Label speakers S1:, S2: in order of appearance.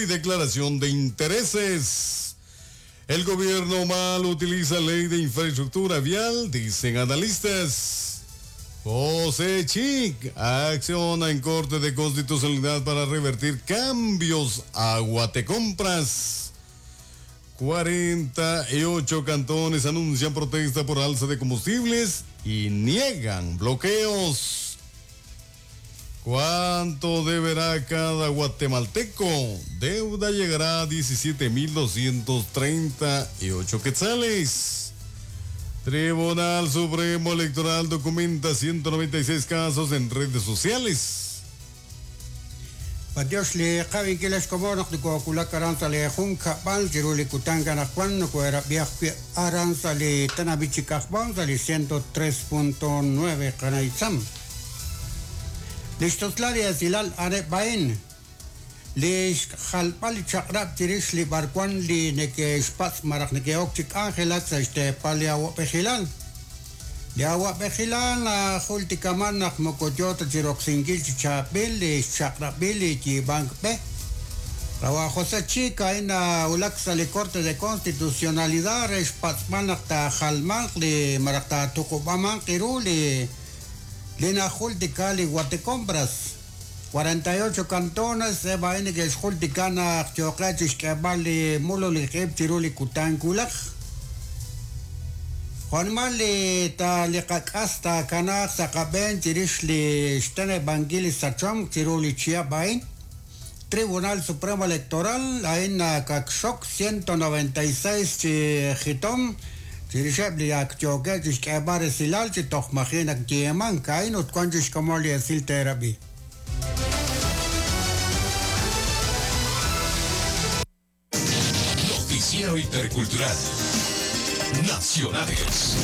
S1: Y declaración de intereses. El gobierno mal utiliza ley de infraestructura vial, dicen analistas. José Chic acciona en Corte de Constitucionalidad para revertir cambios a Guatecompras. 48 cantones anuncian protesta por alza de combustibles y niegan bloqueos. ¿Cuánto deberá cada guatemalteco? Deuda llegará a 17.238 quetzales. Tribunal Supremo Electoral documenta 196 casos en redes sociales.
S2: Dios li qawinkil xkomon naq nokowulak aran sa' li junkab'al chiru li kutan anaqwan nokoherab'i ajwi' aran sa' li tenamit chi kajb'al sa' li 103.9 qanaytzam. Li xtuslal li esilal a'aneb' a'in li xjalb'al li chaq'rab' chirix li b'arwan li neke'xpatz' malaj neke'ok chi k'anjelak sa' xteepal li awab'ejilal. Li awab'ejilal najultikaman naq moko yo ta chi roksinkil chi chaab'il li xchaq'rab'il li yiib'ank b'e. Qawa' José Chic a'in nawulak sa' li Corte de Constitucionalidad re xpatz'b'al naq taajalmanq li malaj taatuqub'amanq ru li li najultika li Guatecompras. 48 cantones eb' a'in neke'xjultika naq yooqeb' chi xk'eeb'al li mululij ib' chiru li kutan wulaj. Jo'nimal li ta li qak'as taakanaaq sa' qab'een chirix li xteneb'ankil li sachomq chiru li chihab' a'in. Tribunal Supremo Electoral a'in nakakxok 196 chi jitom chirixeb' li ak yookeb' chi xk'eeb'al resilal chi toj maji' naq yeemank a'in ut wan chi xkomon li esil teerab'i.
S3: Noticiero Intercultural. Nacionales.